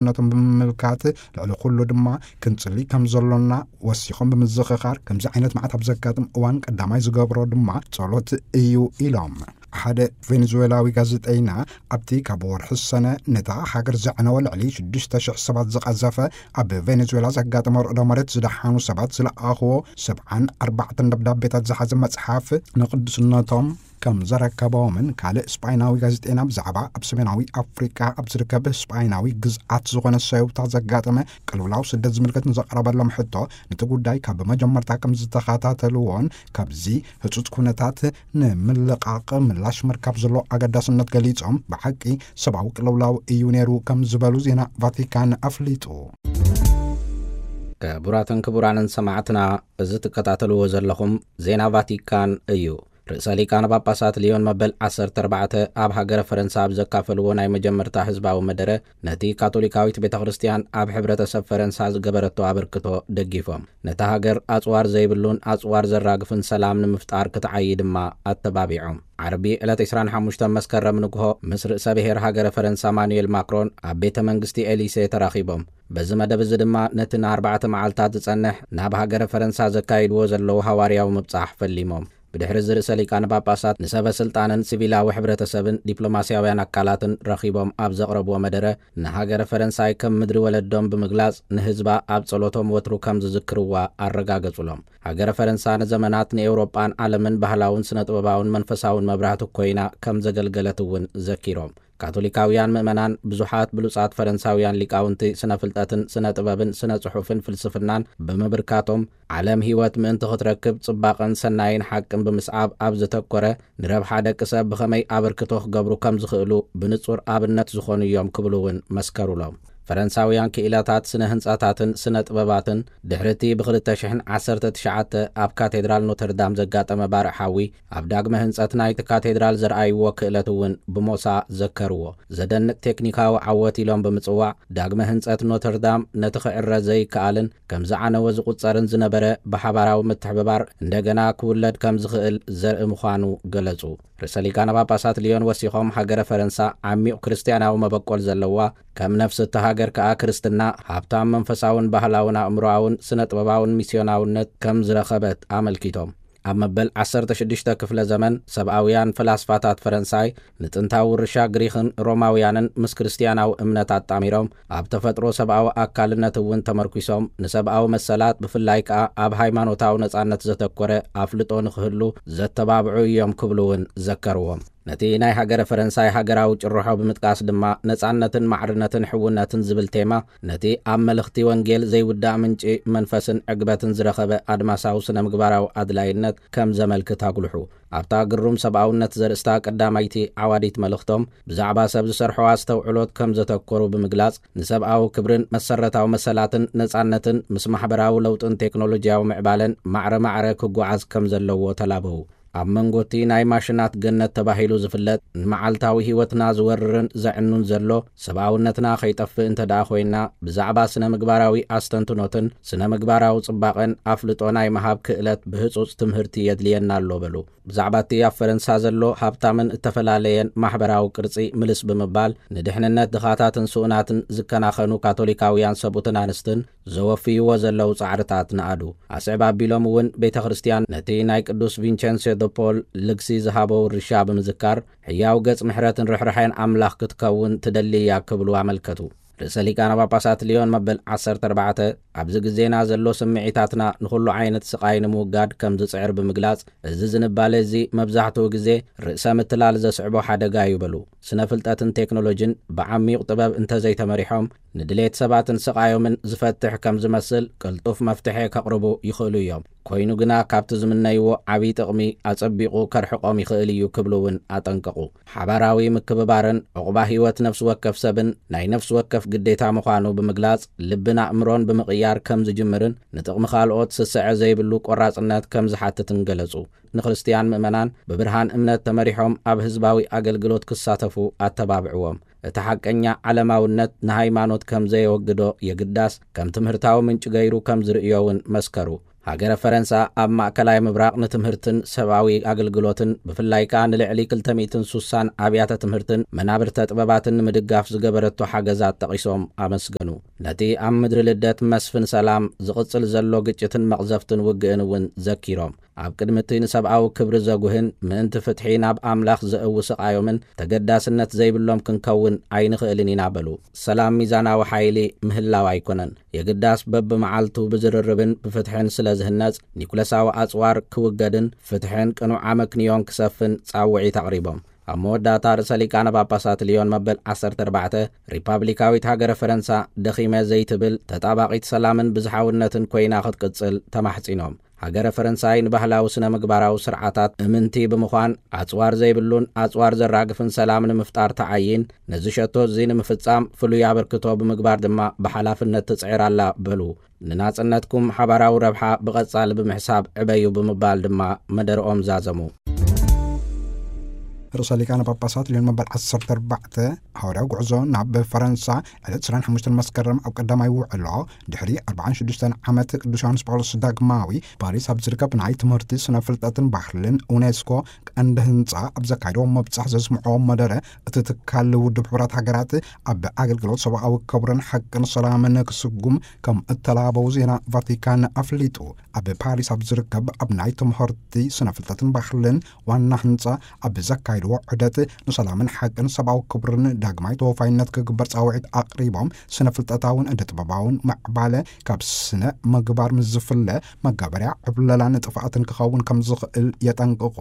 ነቶም ብምምልካት፣ ልዕሊ ኩሉ ድማ ክንጽሊ ከም ዘሎና ወሲኾም ብምዝኽኻር፣ ከምዚ ዓይነት መዓት ኣብ ዘጋጥም እዋን ቀዳማይ ዝገብሮ ድማ ጸሎት እዩ ኢሎም። ሓደ ቬኔዙዌላዊ ጋዜጠይና ኣብቲ ካብ ወርሒ ሰነ ነታ ሃገር ዘዕነወ ልዕሊ ሽዱሽተ ሽሕ ሰባት ዝቐዘፈ ኣብ ቬኔዙዌላ ዘጋጠመ ርዕዶ መሬት ዝደሓኑ ሰባት ዝለኣኽዎ ሰብዓን ኣርባዕተን ደብዳቤታት ዝሓዘ መጽሓፍ ንቅዱስነቶም ከም ዘረከቦምን ካልእ ስጳይናዊ ጋዜጠይና ብዛዕባ ኣብ ሰሜናዊ ኣፍሪቃ ኣብ ዝርከብ ስጳይናዊ ግዝኣት ዝኾነ ሰውታ ዘጋጠመ ቅልውላው ስደት ዝምልከት ንዘቕረበሎም ሕቶ፣ ነቲ ጉዳይ ካብ መጀመርታ ከም ዝተኸታተልዎን ካብዚ ህጹጽ ኩነታት ንምልቃቕ ምላሽ ምርካብ ዘሎ ኣገዳስነት ገሊጾም፣ ብሓቂ ሰብኣዊ ቅልውላው እዩ ነይሩ ከም ዝበሉ ዜና ቫቲካን ኣፍሊጡ። ክቡራትን ክቡራንን ሰማዕትና፣ እዚ ትከታተልዎ ዘለኹም ዜና ቫቲካን እዩ። ርእሰ ሊቃነ ጳጳሳት ሊዮን መበል ዓሰርተ ኣርባዕተ ኣብ ሃገረ ፈረንሳ ኣብ ዘካፈልዎ ናይ መጀመርታ ህዝባዊ መደረ፣ ነቲ ካቶሊካዊት ቤተ ክርስቲያን ኣብ ሕብረተሰብ ፈረንሳ ዝገበረቶ ኣበርክቶ ደጊፎም፣ ነታ ሃገር ኣጽዋር ዘይብሉን ኣጽዋር ዘራግፍን ሰላም ንምፍጣር ክትዓዪ ድማ ኣተባቢዖም። ዓርቢ ዕለት ዕስራን ሓሙሽተን መስከረም ንግሆ ምስ ርእሰ ብሔር ሃገረ ፈረንሳ ማኑኤል ማክሮን ኣብ ቤተ መንግስቲ ኤሊሴ ተራኺቦም። በዚ መደብ እዚ ድማ ነቲ ንኣርባዕተ መዓልታት ዝጸንሕ ናብ ሃገረ ፈረንሳ ዘካይድዎ ዘለዉ ሃዋርያዊ ምብጻሕ ፈሊሞም። ብድሕሪ እዚ ርእሰ ሊቃነ ጳጳሳት ንሰበ ስልጣንን ሲቪላዊ ሕብረተሰብን ዲፕሎማስያውያን ኣካላትን ረኺቦም ኣብ ዘቕረብዎ መደረ፣ ንሃገረ ፈረንሳይ ከም ምድሪ ወለዶም ብምግላጽ፣ ንህዝባ ኣብ ጸሎቶም ወትሩ ከም ዝዝክርዋ ኣረጋገጹሎም። ሃገረ ፈረንሳ ንዘመናት ንኤውሮጳን ዓለምን ባህላውን ስነ ጥበባውን መንፈሳውን መብራህቲ ኮይና ከም ዘገልገለት እውን ዘኪሮም። ካቶሊካውያን ምእመናን ብዙሓት ብሉጻት ፈረንሳውያን ሊቃውንቲ ስነ ፍልጠትን ስነ ጥበብን ስነ ጽሑፍን ፍልስፍናን ብምብርካቶም፣ ዓለም ህይወት ምእንቲ ክትረክብ ጽባቐን ሰናይን ሓቅን ብምስዓብ ኣብ ዘተኮረ፣ ንረብሓ ደቂ ሰብ ብኸመይ ኣበርክቶ ክገብሩ ከም ዝኽእሉ ብንጹር ኣብነት ዝኾኑ እዮም ክብሉ እውን መስከሩሎም። ፈረንሳውያን ክኢላታት ስነ ህንጻታትን ስነ ጥበባትን ድሕሪ እቲ ብኽልተ ሽሕን ዓሰርተ ትሽዓተ ኣብ ካቴድራል ኖተርዳም ዘጋጠመ ባርዕ ሓዊ፣ ኣብ ዳግመ ህንጸት ናይቲ ካቴድራል ዘርኣይዎ ክእለት እውን ብሞሳ ዘከርዎ። ዘደንቅ ቴክኒካዊ ዓወት ኢሎም ብምጽዋዕ፣ ዳግመ ህንጸት ኖተርዳም ነቲ ክዕረ ዘይከኣልን ከም ዝዓነወ ዝቑጸርን ዝነበረ ብሓባራዊ ምትሕብባር እንደገና ክውለድ ከም ዝኽእል ዘርኢ ምዃኑ ገለጹ። ርእሰ ሊቃነ ጳጳሳት ሊዮን ወሲኾም፣ ሃገረ ፈረንሳ ዓሚቕ ክርስትያናዊ መበቆል ዘለዋ፣ ከም ነፍሲ እታ ሃገር ከኣ ክርስትና ሃብታም መንፈሳውን ባህላውን ኣእምሮኣውን ስነ ጥበባውን ሚስዮናውነት ከም ዝረኸበት ኣመልኪቶም፣ ኣብ መበል ዓሰርተ ሽዱሽተ ክፍለ ዘመን ሰብኣውያን ፈላስፋታት ፈረንሳይ ንጥንታዊ ውርሻ ግሪኽን ሮማውያንን ምስ ክርስትያናዊ እምነት ኣጣሚሮም፣ ኣብ ተፈጥሮ ሰብኣዊ ኣካልነት እውን ተመርኲሶም፣ ንሰብኣዊ መሰላት ብፍላይ ከኣ ኣብ ሃይማኖታዊ ነጻነት ዘተኮረ ኣፍልጦ ንኽህሉ ዘተባብዑ እዮም ክብሉ እውን ዘከርዎም። ነቲ ናይ ሃገረ ፈረንሳይ ሃገራዊ ጭርሖ ብምጥቃስ ድማ፣ ነጻነትን ማዕርነትን ሕውነትን ዝብል ቴማ፣ ነቲ ኣብ መልእኽቲ ወንጌል ዘይውዳእ ምንጪ መንፈስን ዕግበትን ዝረኸበ ኣድማሳዊ ስነ ምግባራዊ ኣድላይነት ከም ዘመልክት ኣጉልሑ። ኣብታ ግሩም ሰብኣውነት ዘርእስታ ቀዳማይቲ ዓዋዲት መልእኽቶም፣ ብዛዕባ ሰብ ዝሰርሖ ኣስተውዕሎት ከም ዘተኮሩ ብምግላጽ፣ ንሰብኣዊ ክብርን መሰረታዊ መሰላትን ነጻነትን ምስ ማሕበራዊ ለውጥን ቴክኖሎጂያዊ ምዕባለን ማዕረ ማዕረ ክጓዓዝ ከም ዘለዎ ተላበዉ። ኣብ መንጎ እቲ ናይ ማሽናት ገነት ተባሂሉ ዝፍለጥ፣ ንመዓልታዊ ህይወትና ዝወርርን ዘዕኑን ዘሎ፣ ሰብኣውነትና ከይጠፍእ እንተ ደኣ ኮይና፣ ብዛዕባ ስነ ምግባራዊ ኣስተንትኖትን ስነ ምግባራዊ ጽባቐን ኣፍልጦ ናይ ምሃብ ክእለት ብህጹጽ ትምህርቲ የድልየና ኣሎ በሉ። ብዛዕባ እቲ ኣብ ፈረንሳ ዘሎ ሃብታምን እተፈላለየን ማሕበራዊ ቅርጺ ምልስ ብምባል፣ ንድሕንነት ድኻታትን ስኡናትን ዝከናኸኑ ካቶሊካውያን ሰብኡትን ኣንስትን ዘወፍይዎ ዘለዉ ጻዕርታት ነኣዱ። ኣስዕብ ኣቢሎም እውን ቤተ ክርስቲያን ነቲ ናይ ቅዱስ ቪንቸንስዮ ደ ፖል ልግሲ ዝሃቦ ውርሻ ብምዝካር፣ ሕያው ገጽ ምሕረትን ርሕራሐን ኣምላኽ ክትከውን ትደሊ እያ ክብሉ ኣመልከቱ። ርእሰ ሊቃነ ጳጳሳት ሊዮን መበል ዓሰርተ ኣርባዕተ ኣብዚ ግዜና ዘሎ ስምዒታትና ንኹሉ ዓይነት ስቓይ ንምውጋድ ከም ዝጽዕር ብምግላጽ፣ እዚ ዝንባለ እዚ መብዛሕትኡ ግዜ ርእሰ ምትላል ዘስዕቦ ሓደጋ እዩ በሉ። ስነ ፍልጠትን ቴክኖሎጂን ብዓሚቕ ጥበብ እንተዘይተመሪሖም፣ ንድሌት ሰባትን ስቓዮምን ዝፈትሕ ከም ዝመስል ቅልጡፍ መፍትሒ ከቕርቡ ይኽእሉ እዮም። ኮይኑ ግና፣ ካብቲ ዝምነይዎ ዓብዪ ጥቕሚ ኣጸቢቑ ከርሕቖም ይኽእል እዩ ክብሉ እውን ኣጠንቀቑ። ሓባራዊ ምክብባርን ዕቑባ ህይወት ነፍሲ ወከፍ ሰብን ናይ ነፍሲ ወከፍ ግዴታ ምዃኑ ብምግላጽ፣ ልብን ኣእምሮን ብምቕያር ከም ዝጅምርን ንጥቕሚ ካልኦት ስስዐ ዘይብሉ ቆራጽነት ከም ዝሓትትን ገለጹ። ንክርስትያን ምእመናን ብብርሃን እምነት ተመሪሖም ኣብ ህዝባዊ ኣገልግሎት ክሳተፉ ኣተባብዕዎም። እቲ ሓቀኛ ዓለማውነት ንሃይማኖት ከም ዘየወግዶ የግዳስ፣ ከም ትምህርታዊ ምንጪ ገይሩ ከም ዝርእዮ እውን መስከሩ። ሃገረ ፈረንሳ ኣብ ማእከላይ ምብራቕ ንትምህርትን ሰብኣዊ ኣገልግሎትን፣ ብፍላይ ከኣ ንልዕሊ ክልተ ሚእትን ሱሳን ኣብያተ ትምህርትን መናብርተ ጥበባትን ንምድጋፍ ዝገበረቶ ሓገዛት ጠቒሶም ኣመስገኑ። ነቲ ኣብ ምድሪ ልደት መስፍን ሰላም ዝቕጽል ዘሎ ግጭትን መቕዘፍትን ውግእን እውን ዘኪሮም፣ ኣብ ቅድሚ እቲ ንሰብኣዊ ክብሪ ዘጉህን ምእንቲ ፍትሒ ናብ ኣምላኽ ዘእዊ ስቓዮምን ተገዳስነት ዘይብሎም ክንከውን ኣይንኽእልን ኢና በሉ። ሰላም ሚዛናዊ ሓይሊ ምህላው ኣይኮነን፣ የግዳስ በብመዓልቱ ብዝርርብን ብፍትሕን ስለ ዝህነጽ፣ ኒኩለሳዊ ኣጽዋር ክውገድን ፍትሕን ቅኑዕ ኣመክንዮን ክሰፍን ጻውዒት ኣቕሪቦም። ኣብ መወዳእታ ርእሰ ሊቃነ ጳጳሳት ልዮን መበል ዓሰርተ ኣርባዕተ፣ ሪፓብሊካዊት ሃገረ ፈረንሳ ደኺመ ዘይትብል፣ ተጣባቒት ሰላምን ብዝሓውነትን ኮይና ክትቅጽል ተማሕጺኖም። ሃገረ ፈረንሳይ ንባህላዊ ስነ ምግባራዊ ስርዓታት እምንቲ ብምዃን፣ ኣጽዋር ዘይብሉን ኣጽዋር ዘራግፍን ሰላም ንምፍጣር ተዓይን፣ ነዚ ሸቶ እዚ ንምፍጻም ፍሉይ ኣበርክቶ ብምግባር ድማ ብሓላፍነት ትጽዕር ኣላ በሉ። ንናጽነትኩም ሓባራዊ ረብሓ ብቐጻሊ ብምሕሳብ ዕበዩ ብምባል ድማ መደርኦም ዛዘሙ። ርእሰ ሊቃነ ጳጳሳት ልዮን መበል ዓሰርተ ኣርባዕተ ሃዋርያዊ ጉዕዞ ናብ ፈረንሳ ዕለት ዕስራን ሓሙሽተን መስከረም ኣብ ቀዳማይ ውዕሎ፣ ድሕሪ ኣርባዓን ሽዱሽተን ዓመት ቅዱስ ዮሃንስ ጳውሎስ ዳግማዊ ፓሪስ ኣብ ዝርከብ ናይ ትምህርቲ፣ ስነ ፍልጠትን ባህልን ዩኔስኮ ቀንዲ ህንጻ ኣብ ዘካየዶ መብጻሕ ዘስምዖ መደረ፣ እቲ ትካል ውድብ ሕቡራት ሃገራት ኣብ ኣገልግሎት ሰብኣዊ ክብርን ሓቅን ሰላምን ክስጉም ከም እተላበው ዜና ቫቲካን ኣፍሊጡ። ኣብ ፓሪስ ኣብ ዝርከብ ኣብ ናይ ትምህርቲ፣ ስነ ፍልጠትን ባህልን ዋና ህንጻ ኣብ ዘካየድዎ ዑደት፣ ንሰላምን ሓቅን ሰብኣዊ ክብርን ዳግማይ ተወፋይነት ክግበር ጻውዒት ኣቕሪቦም፣ ስነ ፍልጠታውን እደ ጥበባውን ምዕባለ ካብ ስነ ምግባር ምስ ዝፍለ፣ መጋበርያ ዕብለላን ጥፍኣትን ክኸውን ከም ዝኽእል የጠንቅቑ።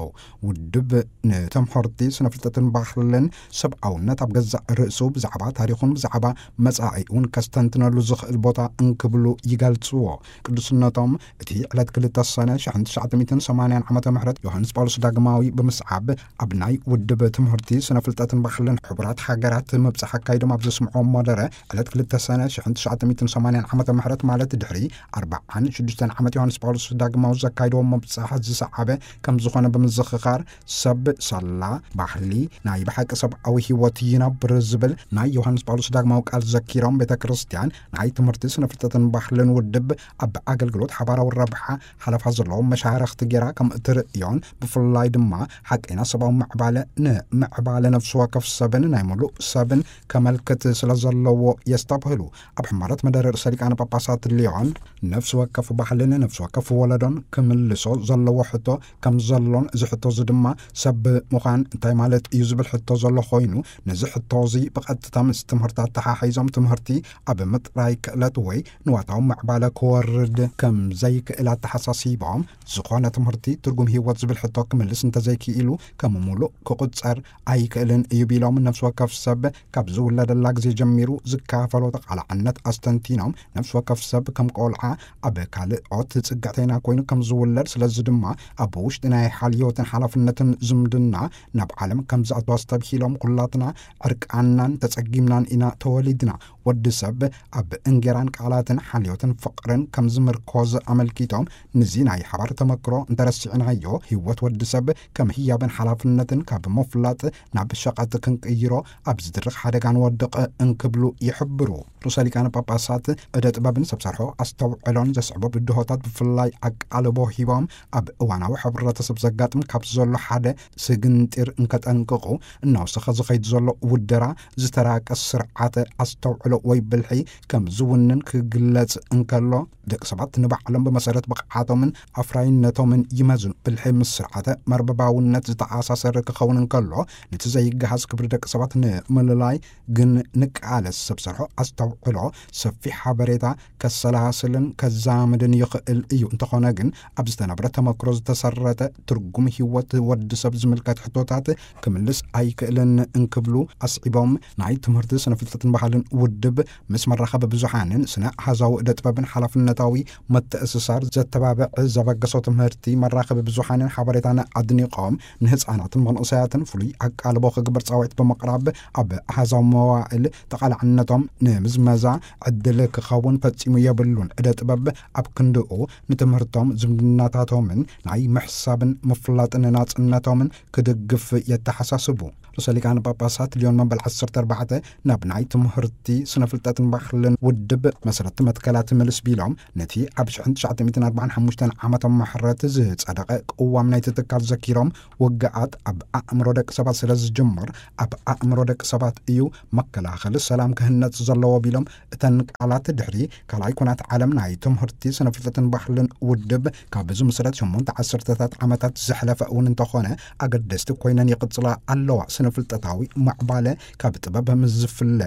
ውድብ ንትምህርቲ፣ ስነ ፍልጠትን ባህልን ሰብኣውነት ኣብ ገዛእ ርእሱ ብዛዕባ ታሪኹን ብዛዕባ መጻኢኡን ከስተንትነሉ ዝኽእል ቦታ እንክብሉ ይገልጽዎ። ቅዱስነቶም እቲ ዕለት ክልተ ሰነ ሽሕን ትሽዓተ ሚእትን ሰማንያን ዓመተ ምህረት ዮሃንስ ጳውሎስ ዳግማዊ ብምስዓብ፣ ኣብ ናይ ውድብ ትምህርቲ፣ ስነ ፍልጠትን ባህልን ሕቡራት ሃገራት ምብጻሕ ኣካይዶም ኣብ ዘስምዖ መደረ፣ ዕለት ክልተ ሰነ ሽሕን ትሽዓተ ሚእትን ሰማንያን ዓመተ ምህረት ማለት ድሕሪ ኣርባዓን ሽዱሽተን ዓመት ዮሃንስ ጳውሎስ ዳግማዊ ዘካይድዎ ምብጻሕ ዝሰዓበ ከም ዝኾነ ብምዝኽኻር፣ ሰብ ሳላ ባህሊ ናይ ብሓቂ ሰብኣዊ ህይወት ይነብር ዝብል ናይ ዮሃንስ ጳውሎስ ዳግማዊ ቃል ዘኪሮም፣ ቤተ ክርስቲያን ናይ ትምህርቲ፣ ስነ ፍልጠትን ባህልን ውድብ ኣብ ኣገልግሎት ሓባራዊ ረብሓ ሓለፋ ዘለዎም መሻርኽቲ ጌራ ከም እትርእዮን፣ ብፍላይ ድማ ሓቀይና ሰብኣዊ ምዕባለ ንምዕባለ ነፍሲ ወከፍ ሰብን ናይ ሙሉእ ሰብን ከመልክት ስለ ዘለዎ የስተብህሉ። ኣብ ሕማረት መደረ ርእሰ ሊቃነ ጳጳሳት ሊዮን፣ ነፍሲ ወከፍ ባህልን ነፍሲ ወከፍ ወለዶን ክምልሶ ዘለዎ ሕቶ ከም ዘሎን፣ እዚ ሕቶ እዚ ድማ ሰብ ምዃን እንታይ ማለት እዩ ዝብል ሕቶ ዘሎ ኮይኑ፣ ነዚ ሕቶ እዚ ብቐጥታ ምስ ትምህርቲ ኣተሓሒዞም፣ ትምህርቲ ኣብ ምጥራይ ክእለት ወይ ንዋታዊ ምዕባለ ክወርድ ከም ዘይክእል ኣተሓሳሲቦም፣ ዝኾነ ትምህርቲ ትርጉም ህይወት ዝብል ሕቶ ክምልስ እንተዘይክኢሉ፣ ከም ሙሉእ ክቑጸር ኣይክእልን እዩ ቢሎም፣ ነፍሲ ወከፍ ሰብ ካብ ዝውለደላ ግዜ ጀሚሩ ዝካፈሎ ተቓላዕነት ኣስተንቲኖም፣ ነፍሲ ወከፍ ሰብ ከም ቆልዓ ኣብ ካልኦት ጽግዕተይና ኮይኑ ከም ዝውለድ፣ ስለዚ ድማ ኣብ ውሽጢ ናይ ሓልዮትን ሓላፍነትን ዝምድና ናብ ዓለም ከም ዝኣቱ ኣስተብሂሎም፣ ኩላትና ዕርቃናን ተጸጊምናን ኢና ተወሊድና። ወዲ ሰብ ኣብ እንጌራን ቃላትን ሓልዮትን ፍቕርን ከም ዝምርኮዝ ኣመልኪቶም፣ ንዚ ናይ ሓባር ተመክሮ እንተረሲዕናዮ፣ ህይወት ወዲ ሰብ ከም ህያብን ሓላፍነትን ካብ ምፍላጥ ናብ ሸቐጥ ክንቅይሮ ኣብ ዝድርኽ ሓደጋ ንወድቕ እንክብሉ ይሕብሩ። ርእሰ ሊቃነ ጳጳሳት እደ ጥበብን ሰብ ሰርሖ ኣስተውዕሎን ዘስዕቦ ብድሆታት ብፍላይ ኣቃልቦ ሂቦም፣ ኣብ እዋናዊ ሕብረተሰብ ዘጋጥም ካብ ዘሎ ሓደ ስግንጢር እንከጠንቅቑ፣ እናወሰኸ ዝኸይድ ዘሎ ውደራ፣ ዝተራቀ ስርዓተ ኣስተውዕሎ ወይ ብልሒ ከም ዝውንን ክግለጽ እንከሎ፣ ደቂ ሰባት ንባዕሎም ብመሰረት ብቕዓቶምን ኣፍራይነቶምን ይመዝኑ። ብልሒ ምስ ስርዓተ መርበባውነት ዝተኣሳሰረ ክኸውን እንከሎ፣ ነቲ ዘይገሃስ ክብሪ ደቂ ሰባት ንምልላይ ግን ንቃለስ። ሰብ ሰርሖ ኣስተውዕሎ ሰፊሕ ሓበሬታ ከሰላስልን ከዛምድን ይኽእል እዩ። እንተኾነ ግን፣ ኣብ ዝተነብረ ተመክሮ ዝተሰረተ ትርጉም ህይወት ወዲ ሰብ ዝምልከት ሕቶታት ክምልስ ኣይክእልን እንክብሉ ኣስዒቦም፣ ናይ ትምህርቲ፣ ስነ ፍልጠትን ባህልን ውድብ ምስ መራኸቢ ብዙሓንን ስነ ኣሃዛዊ እደ ጥበብን ሓላፍነታዊ መተእስሳር ዘተባብዕ ዘበገሶ ትምህርቲ፣ መራኸቢ ብዙሓንን ሓበሬታን ኣድኒቖም፣ ንህፃናትን መንእሰያትን ትካላትን ፍሉይ ኣቃልቦ ክግበር ጻውዒት ብምቕራብ፣ ኣብ ኣሃዛዊ መዋእል ተቓላዕነቶም ንምዝመዛ ዕድል ክኸውን ፈጺሙ የብሉን። ዕደ ጥበብ ኣብ ክንድኡ ንትምህርቶም፣ ዝምድናታቶምን ናይ ምሕሳብን ምፍላጥን ናጽነቶምን ክድግፍ የተሓሳስቡ። ርእሰ ሊቃነ ጳጳሳት ሊዮን መበል ዓሰርተ ኣርባዕተ ናብ ናይ ትምህርቲ፣ ስነ ፍልጠትን ባህልን ውድብ መሰረቲ መትከላት ምልስ ቢሎም፣ ነቲ ኣብ ሽሕን ትሽዓተ ሚእትን ኣርባዓን ሓሙሽተን ዓመተ ምሕረት ዝጸደቐ ቅዋም ናይቲ ትካል ዘኪሮም፣ ውግኣት ኣብ ኣእምሮ ደቂ ሰባት ስለ ዝጅምር፣ ኣብ ኣእምሮ ደቂ ሰባት እዩ መከላኸሊ ሰላም ክህነጽ ዘለዎ ቢሎም፣ እተን ቃላት ድሕሪ ካልኣይ ኩናት ዓለም ናይ ትምህርቲ፣ ስነ ፍልጠትን ባህልን ውድብ ካብ ዝምስረት ሸሞንተ ዓሰርተታት ዓመታት ዘሕለፈ እውን እንተኾነ፣ ኣገደስቲ ኮይነን ይቕጽላ ኣለዋ። ስነ ፍልጠታዊ ምዕባለ ካብ ጥበብ ምስ ዝፍለ፣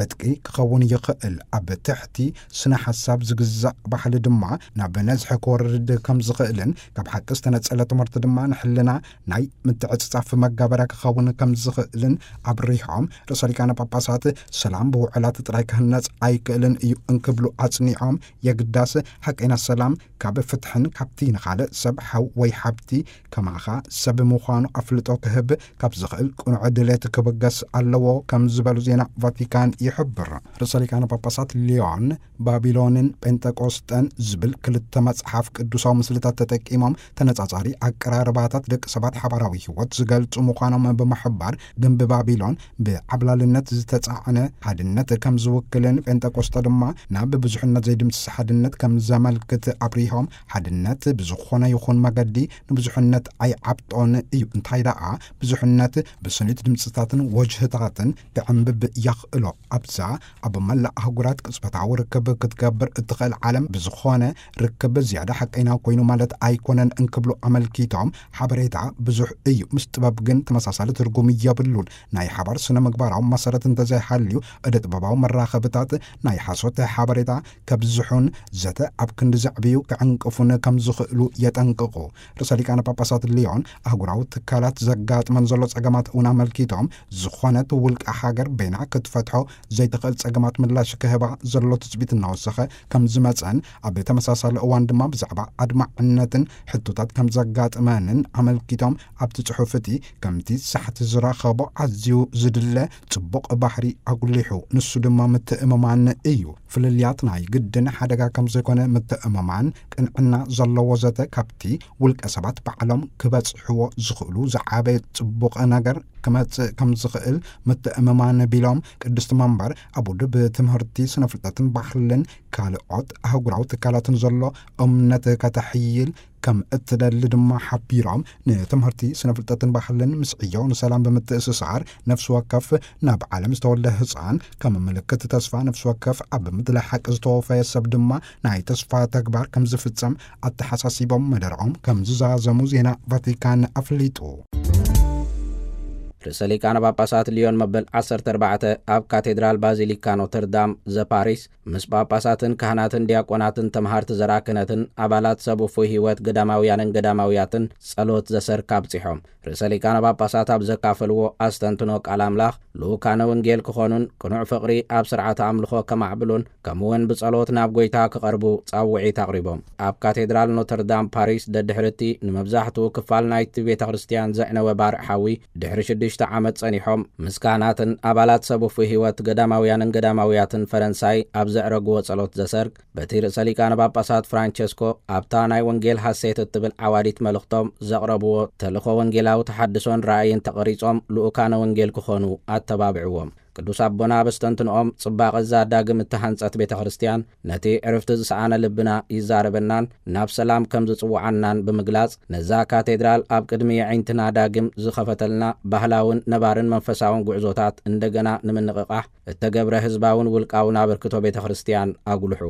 ዕጥቂ ክኸውን ይኽእል። ኣብ ትሕቲ ስነ ሓሳብ ዝግዛእ ባህሊ ድማ ናብ ነዝሒ ክወርድ ከም ዝኽእልን፣ ካብ ሓቂ ዝተነጸለ ትምህርቲ ድማ ንሕልና ናይ ምትዕጽጻፍ መጋበርያ ክኸውን ከም ዝኽእልን ኣብሪሆም፣ ርእሰ ሊቃነ ጳጳሳት ሰላም ብውዕላት ጥራይ ክህነጽ ኣይክእልን እዩ እንክብሉ ኣጽኒዖም፣ የግዳስ ሓቀይና ሰላም ካብ ፍትሕን ካብቲ ንኻልእ ሰብ ሓው ወይ ሓብቲ ከማኻ ሰብ ምዃኑ ኣፍልጦ ክህብ ካብ ዝኽእል ቅኑዕ ድሌት ክብገስ ኣለዎ ከም ዝበሉ ዜና ቫቲካን ይሕብር። ርእሰ ሊቃነ ጳጳሳት ሊዮን ባቢሎንን ጴንጠቆስጠን ዝብል ክልተ መጽሓፍ ቅዱሳዊ ምስልታት ተጠቂሞም፣ ተነጻጻሪ ኣቀራርባታት ደቂ ሰባት ሓባራዊ ህይወት ዝገልጹ ምዃኖም ብምሕባር፣ ግንቢ ባቢሎን ብዓብላልነት ዝተጻዕነ ሓድነት ከም ዝውክልን፣ ጴንጠቆስጠ ድማ ናብ ብዙሕነት ዘይድምስስ ሓድነት ከም ዘመልክት ኣብሪሆም፣ ሓድነት ብዝኾነ ይኹን መገዲ ንብዙሕነት ኣይዓብጦን እዩ። እንታይ ደኣ፣ ብዙሕነት ብስኒት ድምጽታትን ወጅህታትን ክዕንብብ የኽእሎ። ኣብዛ ኣብ መላእ ኣህጉራት ቅጽበታዊ ርክብ ክትገብር እትኽእል ዓለም፣ ብዝኾነ ርክብ ዝያዳ ሓቀይና ኮይኑ ማለት ኣይኮነን እንክብሉ ኣመልኪቶም፣ ሓበሬታ ብዙሕ እዩ፣ ምስ ጥበብ ግን ተመሳሳሊ ትርጉም የብሉን። ናይ ሓባር ስነ ምግባራዊ መሰረት እንተዘይሃልዩ፣ እደ ጥበባዊ መራኸብታት ናይ ሓሶት ሓበሬታ ከብዝሑን ዘተ ኣብ ክንዲ ዘዕብዩ ክዕንቅፉን ከም ዝኽእሉ የጠንቅቑ። ርእሰ ሊቃነ ጳጳሳት ሊዮን ኣህጉራዊ ትካላት ዘጋጥመን ዘሎ ጸገማት እውን ኣመልኪቶም፣ ዝኾነት ውልቀ ሃገር በይና ክትፈትሖ ዘይትኽእል ጸገማት ምላሽ ክህባ ዘሎ ትጽቢት እናወሰኸ ከም ዝመጸን፣ ኣብ ተመሳሳሊ እዋን ድማ ብዛዕባ ኣድማዕነትን ሕቶታት ከም ዘጋጥመንን ኣመልኪቶም፣ ኣብቲ ጽሑፍ እቲ ከምቲ ሳሕቲ ዝረኸቦ ኣዝዩ ዝድለ ጽቡቕ ባህሪ ኣጉሊሑ፣ ንሱ ድማ ምትእምማን እዩ። ፍልልያት ናይ ግድን ሓደጋ ከም ዘይኮነ ምትእምማን፣ ቅንዕና ዘለዎ ዘተ ካብቲ ውልቀ ሰባት ባዕሎም ክበጽሕዎ ዝኽእሉ ዝዓበየ ጽቡቕ ነገር ክመጽእ ከም ዝኽእል ምትእምማን ቢሎም፣ ቅድስቲ መንበር ኣብ ውድብ ትምህርቲ፣ ስነ ፍልጠትን ባህልን ካልኦት ኣህጉራዊ ትካላትን ዘሎ እምነት ከተሕይል ከም እትደሊ ድማ ሓቢሮም፣ ንትምህርቲ፣ ስነ ፍልጠትን ባህልን ምስ ዕዮ ንሰላም ብምትእስሳር፣ ነፍሲ ወከፍ ናብ ዓለም ዝተወልደ ህጻን ከም ምልክት ተስፋ፣ ነፍሲ ወከፍ ኣብ ምድላይ ሓቂ ዝተወፈየ ሰብ ድማ ናይ ተስፋ ተግባር ከም ዝፍጸም ኣተሓሳሲቦም፣ መደርኦም ከም ዝዛዘሙ ዜና ቫቲካን ኣፍሊጡ። ርእሰ ሊቃነ ጳጳሳት ሊዮን መበል ዓሰርተ ኣርባዕተ ኣብ ካቴድራል ባዚሊካ ኖተርዳም ዘፓሪስ ምስ ጳጳሳትን ካህናትን ዲያቆናትን ተምሃርቲ ዘርኣ ክህነትን ኣባላት ሰብ ውፉይ ህይወት ገዳማውያንን ገዳማውያትን ጸሎት ዘሰርክ ኣብጺሖም። ርእሰ ሊቃነ ጳጳሳት ኣብ ዘካፈልዎ ኣስተንትኖ ቃል ኣምላኽ፣ ልኡካነ ወንጌል ክኾኑን ቅኑዕ ፍቕሪ ኣብ ስርዓተ ኣምልኾ ከማዕብሉን፣ ከምኡውን ብጸሎት ናብ ጐይታ ክቐርቡ ጻውዒት ኣቕሪቦም። ኣብ ካቴድራል ኖተርዳም ፓሪስ፣ ደድሕሪ እቲ ንመብዛሕትኡ ክፋል ናይቲ ቤተ ክርስቲያን ዘዕነወ ባርዕ ሓዊ፣ ድሕሪ ሽዱሽተ ዓመት ጸኒሖም፣ ምስ ካህናትን ኣባላት ሰብ ውፉይ ህይወት ገዳማውያንን ገዳማውያትን ፈረንሳይ ኣብ ዘዕረግዎ ጸሎት ዘሰርክ፣ በቲ ርእሰ ሊቃነ ጳጳሳት ፍራንቸስኮ ኣብታ ናይ ወንጌል ሃሴት እትብል ዓዋዲት መልእኽቶም ዘቕረብዎ፣ ተልእኾ ወንጌላዊ ተሓድሶን ራእይን ተቐሪጾም ልኡካነ ወንጌል ክኾኑ ኣተባብዕዎም። ቅዱስ ኣቦና ኣብ ኣስተንትንኦም፣ ጽባቐ እዛ ዳግም እተሃንጸት ቤተ ክርስቲያን ነቲ ዕርፍቲ ዝሰኣነ ልብና ይዛረበናን ናብ ሰላም ከም ዝጽውዓናን ብምግላጽ፣ ነዛ ካቴድራል ኣብ ቅድሚ የዒንትና ዳግም ዝኸፈተልና ባህላውን ነባርን መንፈሳውን ጉዕዞታት እንደገና ንምንቕቓሕ እተገብረ ህዝባውን ውልቃውን ኣበርክቶ ቤተ ክርስቲያን ኣጉልሑ።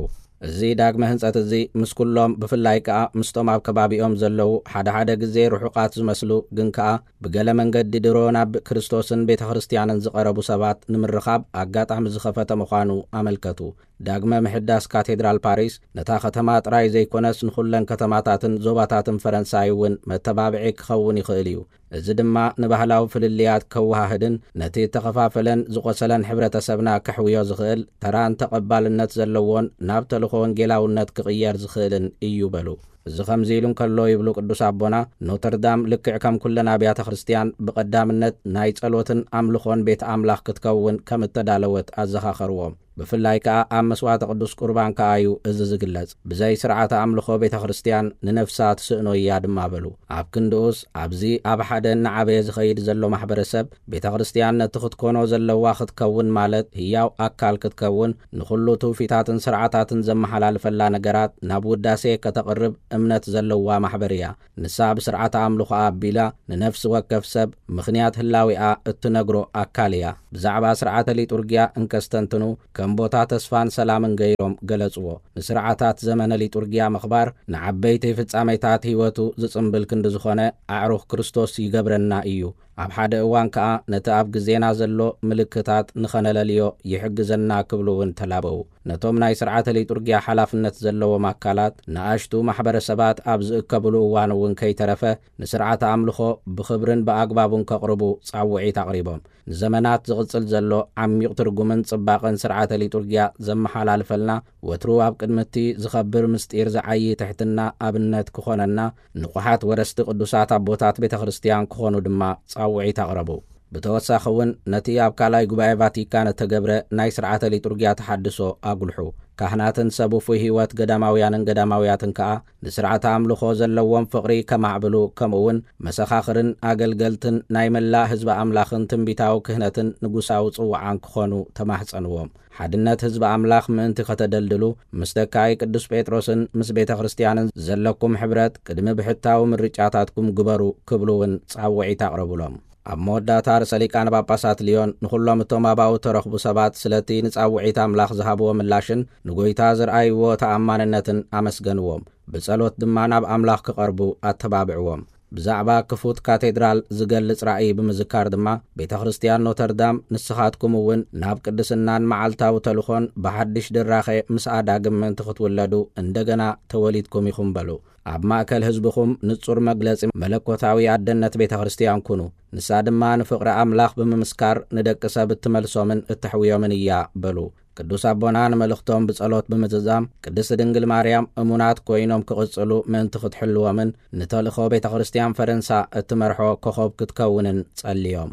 እዚ ዳግመ ህንጸት እዚ ምስ ኩሎም፣ ብፍላይ ከኣ ምስቶም ኣብ ከባቢኦም ዘለዉ፣ ሓደ ሓደ ግዜ ርሑቓት ዝመስሉ፣ ግን ከኣ ብገለ መንገዲ ድሮ ናብ ክርስቶስን ቤተ ክርስቲያንን ዝቐረቡ ሰባት ንምርኻብ ኣጋጣሚ ዝኸፈተ ምዃኑ ኣመልከቱ። ዳግመ ምሕዳስ ካቴድራል ፓሪስ ነታ ከተማ ጥራይ ዘይኮነስ ንኹለን ከተማታትን ዞባታትን ፈረንሳይ እውን መተባብዒ ክኸውን ይኽእል እዩ። እዚ ድማ ንባህላዊ ፍልልያት ከወሃህድን ነቲ እተኸፋፈለን ዝቖሰለን ሕብረተሰብና ከሕውዮ ዝኽእል ተራን ተቐባልነት ዘለዎን ናብ ተልእኾ ወንጌላውነት ክቕየር ዝኽእልን እዩ በሉ። እዚ ከምዚ ኢሉ እንከሎ ይብሉ ቅዱስ ኣቦና፣ ኖተርዳም ልክዕ ከም ኩለን ኣብያተ ክርስቲያን ብቐዳምነት ናይ ጸሎትን ኣምልኾን ቤት ኣምላኽ ክትከውን ከም እተዳለወት ኣዘኻኸርዎም። ብፍላይ ከኣ ኣብ መስዋዕተ ቅዱስ ቁርባን ከኣ እዩ እዚ ዝግለጽ። ብዘይ ስርዓተ ኣምልኾ ቤተ ክርስቲያን ንነፍሳ ትስእኖ እያ ድማ በሉ። ኣብ ክንድኡስ ኣብዚ ኣብ ሓደ እናዓበየ ዝኸይድ ዘሎ ማሕበረሰብ ቤተ ክርስቲያን ነቲ ክትኮኖ ዘለዋ ክትከውን ማለት ህያው ኣካል ክትከውን ንኹሉ ትውፊታትን ስርዓታትን ዘመሓላልፈላ ነገራት ናብ ውዳሴ ከተቕርብ እምነት ዘለዋ ማሕበር እያ። ንሳ ብስርዓተ ኣምልኾኣ ኣቢላ ንነፍሲ ወከፍ ሰብ ምኽንያት ህላዊኣ እትነግሮ ኣካል እያ። ብዛዕባ ስርዓተ ሊጡርጊያ እንከስተንትኑ ከም ቦታ ተስፋን ሰላምን ገይሮም ገለጽዎ። ንስርዓታት ዘመነ ሊጡርጊያ ምኽባር ንዓበይቲ ፍጻሜታት ህይወቱ ዝጽምብል ክንዲ ዝኾነ ኣዕሩኽ ክርስቶስ ይገብረና እዩ። ኣብ ሓደ እዋን ከኣ ነቲ ኣብ ግዜና ዘሎ ምልክታት ንኸነለልዮ ይሕግዘና ክብሉ እውን ተላበዉ። ነቶም ናይ ስርዓተ ሊጡርጊያ ሓላፍነት ዘለዎም ኣካላት ንኣሽቱ ማሕበረሰባት ኣብ ዝእከብሉ እዋን እውን ከይተረፈ ንስርዓተ ኣምልኾ ብኽብርን ብኣግባቡን ከቕርቡ ጻውዒት ኣቕሪቦም። ንዘመናት ዝቕጽል ዘሎ ዓሚቕ ትርጉምን ጽባቐን ስርዓተ ሊጡርጊያ ዘመሓላልፈልና፣ ወትሩ ኣብ ቅድሚ እቲ ዝኸብር ምስጢር ዝዓዪ ትሕትና ኣብነት ክኾነና፣ ንቑሓት ወረስቲ ቅዱሳት ኣቦታት ቤተ ክርስቲያን ክኾኑ ድማ ጻውዒት ኣቕረቡ። ብተወሳኺ እውን ነቲ ኣብ ካልኣይ ጉባኤ ቫቲካን እተገብረ ናይ ስርዓተ ሊጡርጊያ ተሓድሶ ኣጉልሑ። ካህናትን ሰብ ውፉይ ህይወት ገዳማውያንን ገዳማውያትን ከኣ ንስርዓተ ኣምልኾ ዘለዎም ፍቕሪ ከማዕብሉ፣ ከምኡ እውን መሰኻኽርን ኣገልገልትን ናይ መላእ ህዝቢ ኣምላኽን ትንቢታዊ ክህነትን ንጉሳዊ ጽውዓን ክኾኑ ተማሕጸንዎም። ሓድነት ህዝቢ ኣምላኽ ምእንቲ ከተደልድሉ፣ ምስ ተካኢ ቅዱስ ጴጥሮስን ምስ ቤተ ክርስቲያንን ዘለኩም ሕብረት ቅድሚ ብሕታዊ ምርጫታትኩም ግበሩ ክብሉ እውን ጻውዒት ኣቕረቡሎም። ኣብ መወዳእታ ርእሰ ሊቃነ ጳጳሳት ልዮን ንኹሎም እቶም ኣባኡ ተረኽቡ ሰባት ስለቲ ንጻውዒት ኣምላኽ ዝሃብዎ ምላሽን ንጎይታ ዝረኣይዎ ተኣማንነትን ኣመስገንዎም። ብጸሎት ድማ ናብ ኣምላኽ ክቐርቡ ኣተባብዕዎም። ብዛዕባ ክፉት ካቴድራል ዝገልጽ ራእይ ብምዝካር ድማ፣ ቤተ ክርስቲያን ኖተርዳም ንስኻትኩም እውን ናብ ቅድስናን መዓልታዊ ተልኾን ብሓድሽ ድራኸ ምስኣ ዳግም ምእንቲ ክትውለዱ እንደገና ተወሊድኩም ኢኹም በሉ። ኣብ ማእከል ህዝብኹም ንጹር መግለጺ መለኮታዊ ኣደነት ቤተ ክርስቲያን ኩኑ። ንሳ ድማ ንፍቕሪ ኣምላኽ ብምምስካር ንደቂ ሰብ እትመልሶምን እተሕውዮምን እያ በሉ። ቅዱስ ኣቦና ንመልእኽቶም ብጸሎት ብምዝዛም፣ ቅድስቲ ድንግል ማርያም እሙናት ኮይኖም ክቕጽሉ ምእንቲ ክትሕልዎምን ንተልእኾ ቤተ ክርስቲያን ፈረንሳ እትመርሖ ኮኸብ ክትከውንን ጸልዮም።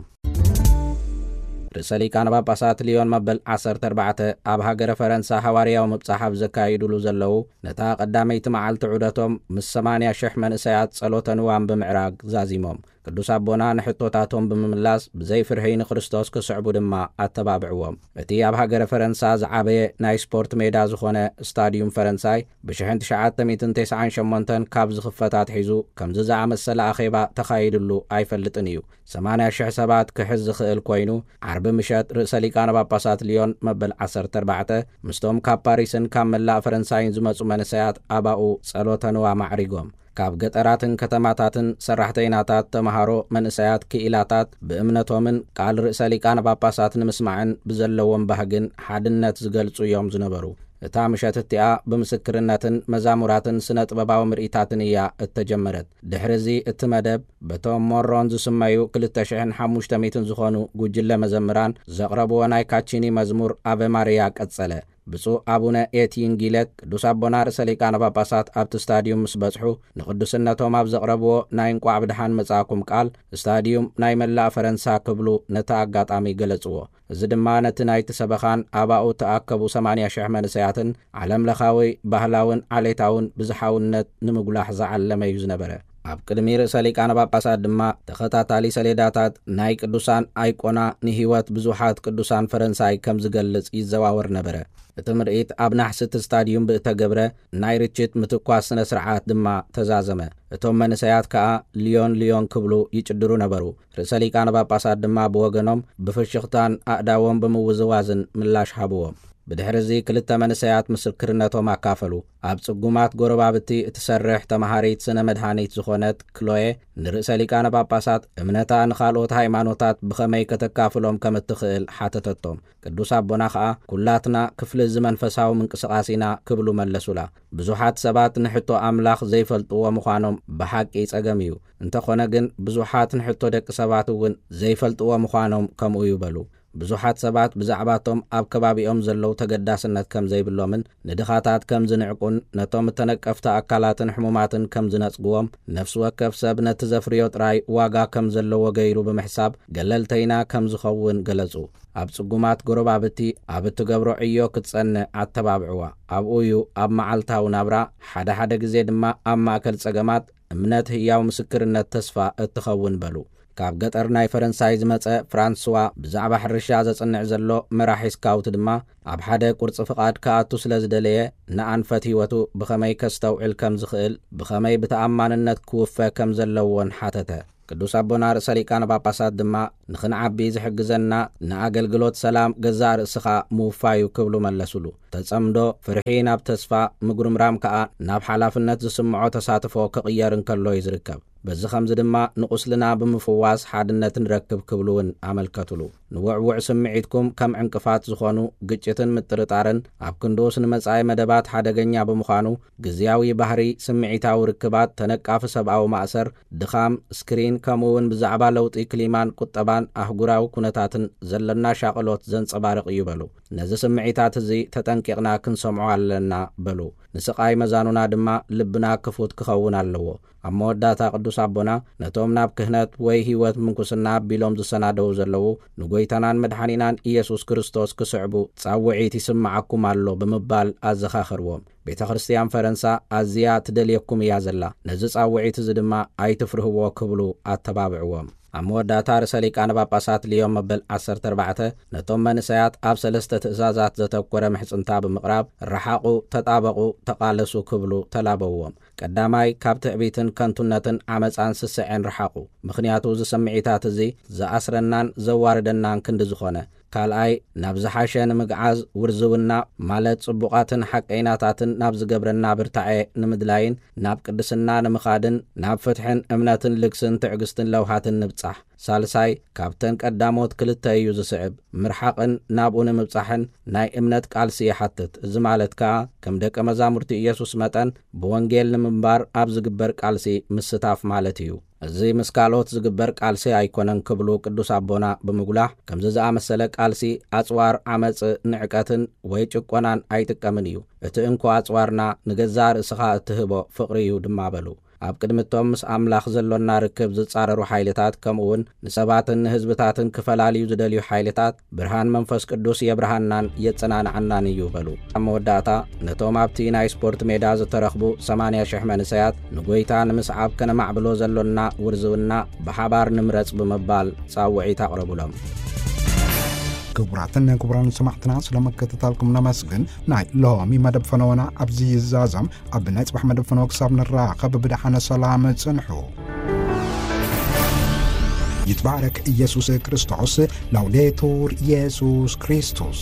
ርእሰ ሊቃነ ጳጳሳት ልዮን መበል ዓሰርተ ኣርባዕተ ኣብ ሃገረ ፈረንሳ ሃዋርያዊ ምብጻሕ ኣብ ዘካይዱሉ ዘለዉ፣ ነታ ቀዳመይቲ መዓልቲ ዑደቶም ምስ ሰማንያ ሽሕ መንእሰያት ጸሎተ ንዋም ብምዕራግ ዛዚሞም። ቅዱስ ኣቦና ንሕቶታቶም ብምምላስ ብዘይ ፍርሂ ንክርስቶስ ክስዕቡ ድማ ኣተባብዕዎም። እቲ ኣብ ሃገረ ፈረንሳ ዝዓበየ ናይ ስፖርት ሜዳ ዝኾነ ስታድዩም ፈረንሳይ ብሽሕን ትሽዓተ ሚእትን ተስዓን ሸሞንተን ካብ ዝኽፈት ኣትሒዙ ከምዚ ዝኣመሰለ ኣኼባ ተኻይድሉ ኣይፈልጥን እዩ። ሰማንያ ሽሕ ሰባት ክሕዝ ዝኽእል ኮይኑ፣ ዓርቢ ምሸት ርእሰ ሊቃነ ጳጳሳት ልዮን መበል ዓሰርተ ኣርባዕተ ምስቶም ካብ ፓሪስን ካብ መላእ ፈረንሳይን ዝመጹ መንእሰያት ኣባኡ ጸሎተ ንዋም ኣዕሪጎም። ካብ ገጠራትን ከተማታትን ሰራሕተይናታት፣ ተመሃሮ፣ መንእሰያት፣ ክኢላታት ብእምነቶምን ቃል ርእሰ ሊቃነ ጳጳሳት ንምስማዕን ብዘለዎም ባህግን ሓድነት ዝገልጹ እዮም ዝነበሩ። እታ ምሸት እቲኣ ብምስክርነትን መዛሙራትን ስነ ጥበባዊ ምርኢታትን እያ እተጀመረት። ድሕሪ እዚ እቲ መደብ በቶም ሞሮን ዝስመዩ ክልተ ሽሕን ሓሙሽተ ሚእትን ዝኾኑ ጉጅለ መዘምራን ዘቕረብዎ ናይ ካቺኒ መዝሙር ኣቨ ማርያ ቀጸለ። ብፁዕ ኣቡነ ኤቲን ጊለት ቅዱስ ኣቦና ርእሰ ሊቃነ ጳጳሳት ኣብቲ ስታድዩም ምስ በጽሑ፣ ንቅዱስነቶም ኣብ ዘቕረብዎ ናይ እንቋዕ ብድሓን መጻእኩም ቃል፣ ስታድዩም ናይ መላእ ፈረንሳ ክብሉ ነቲ ኣጋጣሚ ገለጽዎ። እዚ ድማ ነቲ ናይቲ ሰበኻን ኣባኡ እተኣከቡ ሰማንያ ሽሕ መንእሰያትን ዓለምለኻዊ ባህላውን ዓሌታውን ብዝሓውነት ንምጉላሕ ዝዓለመ እዩ ዝነበረ። ኣብ ቅድሚ ርእሰ ሊቃነ ጳጳሳት ድማ ተኸታታሊ ሰሌዳታት ናይ ቅዱሳን ኣይቆና ንህይወት ብዙሓት ቅዱሳን ፈረንሳይ ከም ዝገልጽ ይዘዋወር ነበረ። እቲ ምርኢት ኣብ ናሕሲ እቲ ስታድዩም ብእተገብረ ናይ ርችት ምትኳስ ስነ ስርዓት ድማ ተዛዘመ። እቶም መንእሰያት ከኣ ልዮን ልዮን ክብሉ ይጭድሩ ነበሩ። ርእሰ ሊቃነ ጳጳሳት ድማ ብወገኖም ብፍሽኽታን ኣእዳዎም ብምውዝዋዝን ምላሽ ሃብዎም። ብድሕሪ እዚ ክልተ መንእሰያት ምስክርነቶም ኣካፈሉ። ኣብ ጽጉማት ጎረባብቲ እትሰርሕ ተመሃሪት ስነ መድሃኒት ዝኾነት ክሎየ ንርእሰ ሊቃነ ጳጳሳት እምነታ ንኻልኦት ሃይማኖታት ብኸመይ ከተካፍሎም ከም እትኽእል ሓተተቶም። ቅዱስ ኣቦና ኸኣ ኩላትና ክፍሊ እዚ መንፈሳዊ ምንቅስቓስ ኢና ክብሉ መለሱላ። ብዙሓት ሰባት ንሕቶ ኣምላኽ ዘይፈልጥዎ ምዃኖም ብሓቂ ጸገም እዩ። እንተኾነ ግን ብዙሓት ንሕቶ ደቂ ሰባት እውን ዘይፈልጥዎ ምዃኖም ከምኡ እዩ በሉ። ብዙሓት ሰባት ብዛዕባቶም ኣብ ከባቢኦም ዘለዉ ተገዳስነት ከም ዘይብሎምን ንድኻታት ከም ዝንዕቁን ነቶም እተነቀፍቲ ኣካላትን ሕሙማትን ከም ዝነጽግዎም፣ ነፍሲ ወከፍ ሰብ ነቲ ዘፍርዮ ጥራይ ዋጋ ከም ዘለዎ ገይሩ ብምሕሳብ ገለልተይና ከም ዝኸውን ገለጹ። ኣብ ጽጉማት ጎረባብቲ ኣብ እትገብሮ ዕዮ ክትጸንዕ ኣተባብዕዋ። ኣብኡ እዩ ኣብ መዓልታዊ ናብራ፣ ሓደ ሓደ ግዜ ድማ ኣብ ማእከል ጸገማት እምነት ህያው ምስክርነት ተስፋ እትኸውን በሉ። ካብ ገጠር ናይ ፈረንሳይ ዝመጸ ፍራንስዋ ብዛዕባ ሕርሻ ዘጽንዕ ዘሎ መራሒ ስካውት ድማ ኣብ ሓደ ቁርጺ ፍቓድ ክኣቱ ስለ ዝደለየ ንኣንፈት ህይወቱ ብኸመይ ከስተውዕል ከም ዝኽእል፣ ብኸመይ ብተኣማንነት ክውፈ ከም ዘለዎን ሓተተ። ቅዱስ ኣቦና ርእሰ ሊቃነ ጳጳሳት ድማ ንኽንዓቢ ዝሕግዘና ንኣገልግሎት ሰላም ገዛእ ርእስኻ ምውፋዩ ክብሉ መለሱሉ። ተጸምዶ ፍርሒ ናብ ተስፋ፣ ምጉርምራም ከኣ ናብ ሓላፍነት ዝስምዖ ተሳትፎ ክቕየር እንከሎ እዩ ዝርከብ። በዚ ኸምዚ ድማ ንቑስልና ብምፍዋስ ሓድነት ንረክብ ክብሉ እውን ኣመልከቱሉ። ንውዕውዕ ስምዒትኩም ከም ዕንቅፋት ዝኾኑ ግጭትን ምጥርጣርን ኣብ ክንድኡስ ንመጻኢ መደባት ሓደገኛ ብምዃኑ ግዝያዊ ባህሪ ስምዒታዊ ርክባት፣ ተነቃፊ ሰብኣዊ ማእሰር፣ ድኻም፣ ስክሪን ከምኡ እውን ብዛዕባ ለውጢ ክሊማን ቁጠባን ኣህጉራዊ ኩነታትን ዘለና ሻቕሎት ዘንጸባርቕ እዩ በሉ። ነዚ ስምዒታት እዚ ተጠንቂቕና ክንሰምዖ ኣለና በሉ። ንስቓይ መዛኑና ድማ ልብና ክፉት ክኸውን ኣለዎ። ኣብ መወዳእታ ቅዱስ ኣቦና ነቶም ናብ ክህነት ወይ ህይወት ምንኩስና ኣቢሎም ዝሰናደዉ ዘለዉ ንጎይታናን መድሓኒናን ኢየሱስ ክርስቶስ ክስዕቡ ጻውዒት ይስምዓኩም ኣሎ ብምባል ኣዘኻኸርዎም። ቤተ ክርስቲያን ፈረንሳ ኣዝያ ትደልየኩም እያ ዘላ። ነዚ ጻውዒት እዚ ድማ ኣይትፍርህዎ ክብሉ ኣተባብዕዎም። ኣብ መወዳእታ ርእሰ ሊቃነ ጳጳሳት ሊዮን መበል ዓሰርተ ኣርባዕተ ነቶም መንእሰያት ኣብ ሰለስተ ትእዛዛት ዘተኮረ ምሕጽንታ ብምቕራብ፣ ረሓቑ፣ ተጣበቑ፣ ተቓለሱ ክብሉ ተላበውዎም። ቀዳማይ፣ ካብ ትዕቢትን ከንቱነትን ዓመጻን ስስዐን ረሓቑ። ምኽንያቱ እዚ ስምዒታት እዚ ዝኣስረናን ዘዋርደናን ክንዲ ዝኾነ። ካልኣይ፣ ናብ ዝሓሸ ንምግዓዝ ውርዝውና ማለት ጽቡቓትን ሓቀይናታትን ናብ ዝገብረና ብርታዐ ንምድላይን ናብ ቅድስና ንምኻድን ናብ ፍትሕን እምነትን ልግስን ትዕግስትን ለውሃትን ንብጻሕ። ሳልሳይ፣ ካብተን ቀዳሞት ክልተ እዩ ዝስዕብ። ምርሓቕን ናብኡ ንምብጻሕን ናይ እምነት ቃልሲ ይሓትት። እዚ ማለት ከኣ ከም ደቀ መዛሙርቲ ኢየሱስ መጠን ብወንጌል ንምንባር ኣብ ዝግበር ቃልሲ ምስታፍ ማለት እዩ። እዚ ምስ ካልኦት ዝግበር ቃልሲ ኣይኮነን ክብሉ ቅዱስ ኣቦና ብምጉላሕ፣ ከምዚ ዝኣመሰለ ቃልሲ ኣጽዋር ዓመጽ፣ ንዕቀትን ወይ ጭቆናን ኣይጥቀምን እዩ። እቲ እንኮ ኣጽዋርና ንገዛእ ርእስኻ እትህቦ ፍቕሪ እዩ ድማ በሉ። ኣብ ቅድሚ እቶም ምስ ኣምላኽ ዘሎና ርክብ ዝጻረሩ ሓይልታት፣ ከምኡውን ንሰባትን ንህዝብታትን ክፈላልዩ ዝደልዩ ሓይልታት፣ ብርሃን መንፈስ ቅዱስ የብርሃናን የጸናንዓናን እዩ በሉ። ኣብ መወዳእታ፣ ነቶም ኣብቲ ናይ ስፖርት ሜዳ ዝተረኽቡ ሰማንያ ሽሕ መንእሰያት ንጎይታ ንምስዓብ ከነማዕብሎ ዘሎና ውርዝውና ብሓባር ንምረጽ ብምባል ጻውዒት ኣቕረቡሎም። ክቡራትን ክቡራን ሰማዕትና፣ ስለ ምክትታልኩም ነመስግን። ናይ ሎሚ መደብ ፈነወና ኣብዚ ይዛዘም። ኣብ ናይ ጽባሕ መደብ ፈነወ ክሳብ ንራኸብ ብደሓነ ሰላም ጽንሑ። ይትባረክ ኢየሱስ ክርስቶስ። ላውዴቱር ኢየሱስ ክርስቶስ።